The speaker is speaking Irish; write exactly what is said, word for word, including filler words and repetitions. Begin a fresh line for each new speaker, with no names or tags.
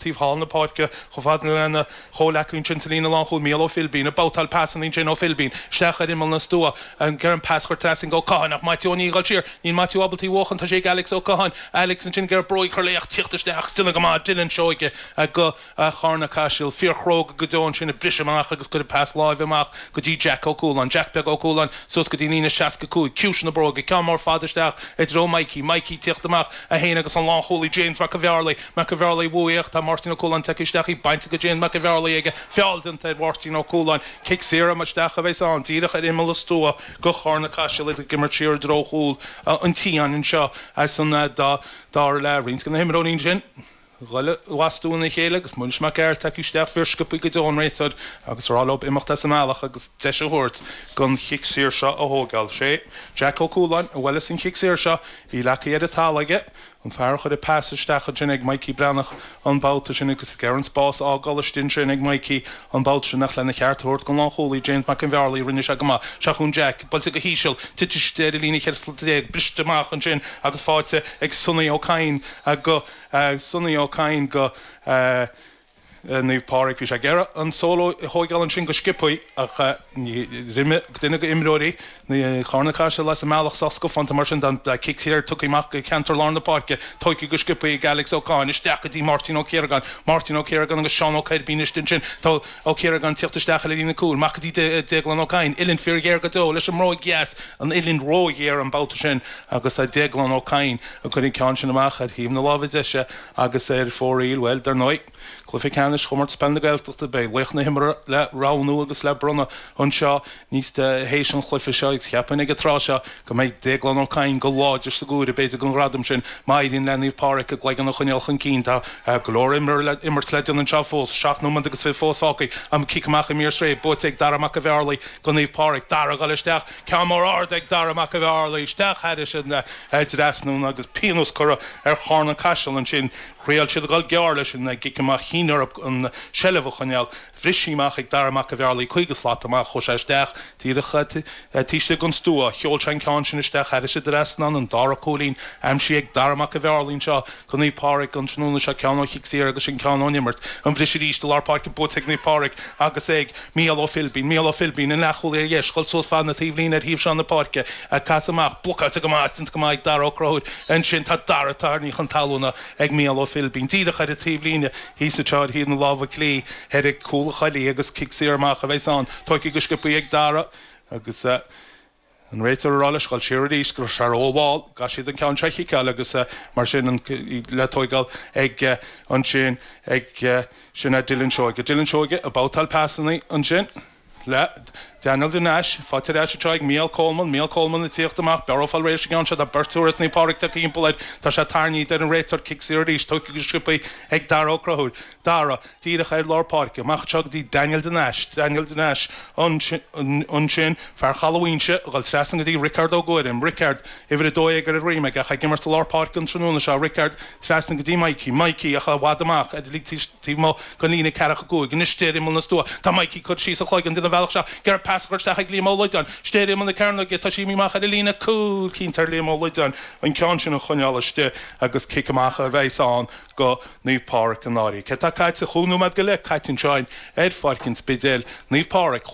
Taobh thall na páirce chomh fada lena chomhleacaí ansin sa líne lánchúil, Mícheál Ó Philbín, ag babhtáil pasanna ansin Ó Philbín isteach ar imeall na stua, ag iarraidh an pas a chur trasna go Ó Catháin ach Maitiú Ó Niaidh ag dul siar, níl Maitiú ábalta í a bhuachan, tá sé ag Alex Ó Catháin, Alex ansin ag iarraidh bróig a chur léi ach tíocht isteach is déanamh go maith Dylan Seoige go Charna Caiseal, fíorchróga go deo ansin ag briseadh amach agus cuireadh pas láimhe amach go dtí Jack Ó Cualáin, Jack Beag Ó Cualáin suas go dtí an líne seasca cúig, ciumhais na bróige, ceann mór fada isteach i dtreo Mikey, Mikey tíocht amach é féin agus an lánchúlaí James Mac an Bhearlaigh, Mac an Bhearlaigh uaidh ach tá Máirtín Ó Cualáin tagtha isteach, í bainte go James Mac an Bhearlaigh aige, feall déanta ar Mháirtín Ó Cualáin. Cic saor isteach a bheas ann, díreach ar imeall an stua go Charna Caiseal, iad ag imirt siar i dtreo chúl an tSiáin anseo as an dá dara leath. Roinnt de na himreoirí ansin ag dul i bhfastú ina chéile agus Muiris Mac Gearailt tagtha isteach fíorsciobtha go deo an réiteoir agus a rá leo imeacht as an mbealach agus deis a thabhairt don chic saor seo a thógáil. Sé Jack Ó Cualáin a bhuaileas an chic saor seo, í leagtha ar an talamh aige. An fear a chuir an pas isteach ansin ag Mikey Breathnach an babhta sin agus ag iarraidh an spás a fhágáil istigh ansin ag Mikey an babhta sin ach lena cheart a thabhairt don lánchúlaí James Mac an Bhearlaigh rinne sé go maith. Seo chugainn Jack, buailte go híseal, tite istigh ar an líne cheithre slat déag, briste amach ansin agus faighte ag Sonny Ó Cadhain go Sonny Ó Cadhain go Naomh Pádraig. Bhí sé ag iarraidh an solo a thóigeáil ansin go sciobthaí ach d'imigh duine de imreoirí Charna Caiseal as an mbealach sách scafánta mar sin tá cic saor tugtha amach go ceantar lár na páirce, tógtha go sciobthaí ag Alex Ó Cadhain, isteach go dtí Máirtín Ó Ciaragáin, Máirtín Ó Ciaragáin agus Seán Ó Coirbín istigh ansin. Tá Ó Ciaragáin ag tíocht isteach ar líne cúil, amach go dtí Déaglán Ó Cadhain, uillinn fíorghéar go deo leis an mbróig dheas, an uillinn róghéar an babhta sin agus Déaglán Ó Cadhain ag cur an ceann sin amach ar thaobh na láimhe deise agus ar fóraoil, bhuel, dar ndóigh, Cluiche Ceannais Chomórtas Peile na Gaeltachta, beidh laoch na himeartha le roghnú agus le bronnadh anseo níos théis an chluiche seo agus cheapfainn ag an tráth seo go mbeidh Déaglán Ó Cadhain go láidir sa gcomhaireamh b'fhéidir don ghradam sin má éiríonn le Naomh Pádraig a gcloigeann a choinneáil chun cinn. Tá go leor imirt le déanamh anseo fós, seacht nóiméad agus fiche fós fágtha. An cic amach i mír sraith buaite ag Dara Mac an Bhearlaigh do Naomh Pádraig. Dara ag dul isteach, ceann mór ard ag Dara Mac an Bhearlaigh isteach thairis an dtrasnán agus pionós curtha ar Charna Caiseal ansin. Thriail siad a dhul gearr leis an gcic amach, chinn orthu an tseilbh a choinneáil. Bhris sí amach ag Dara Mac an Bhearlaigh, caoga slat amach, chuaigh sé isteach díreach taobh istigh den stua. Sheol sé an ceann sin isteach thairis an dtrasnán, an dara cúilín aimsithe ag Dara Mac an Bhearlaigh anseo do Naomh Pádraig an tráthnóna seo, ceann ó chic saor agus an ceann ón imirt. An briseadh arís i lár páirce buaite ag Naomh Pádraig agus ag Mícheál Ó Philbín. Mícheál Ó Philbín, an leathchúlaí ar dheis, dhul suas fad na taobhlíne ar thaobh seo na páirce, ag casadh amach, blocáilte go maith, déanta go maith ag Dara Ó Conchúir. Ansin tá Dara tarraingthe chun talúna ag Mícheál Ó Philbín, díreach ar an taobhlíne thíos anseo ar thaobh na láimhe clí, thoir ag cúl an choiligh agus cic saor amach a bheas ann, tógtha go sciobtha ag Dara agus an réiteoir ag rá leis dhul siar arís go raibh sé rómhall, caithfidh siad an ceann seo a chiceáil agus mar sin an le tóigeáil ag ansin ag sin é Dylan Seoige. Dylan Seoige ag babhtáil pasanna ansin. Le Daniel de Nais, faighte ar ais anseo ag Mícheál Coleman, Mícheál Coleman ag tíocht amach, Bearó fáil réidh leis an gceann seo, tá beirt as Naomh Pádraig tagtha thimpeall air, tá sé tarraingthe deir an réiteoir, cic saor arís, tógtha go sciobtha ag Dara Ó Conchúir, Dara, díreach ar lár páirce, amach anseo go dtí Daniel de Nais, Daniel de Nais ansin, fear Chaladh Mhaínse, ag dul trasna go dtí Rickard Ó Guairim, Rickard, uimhir a dó dhéag ar a dhroim aige ach ag imirt i lár páirce an tráthnóna seo, Rickard trasna go dtí Mikey, Mikey ach i bhfad amach ar taobh amuigh den líne ceathracha cúig, anois ar imeall na stua, tá Mikey curtha síos a chloigeann, déanamh an bealach seo, ag iarraidh pas a chur isteach ag Liam Ó Loideáin, istigh ar imeall na cearnóige, tá sí imithe amach ar an líne cúil, cinnte ar Liam Ó Loideáin an ceann sin a choinneáil istigh agus cic amach a bheas ann go Naomh Pádraig an Fhairche. Tá caite chúig nóiméad go leith caite anseo ar Pháirc an Spidéil, Naomh Pádraig.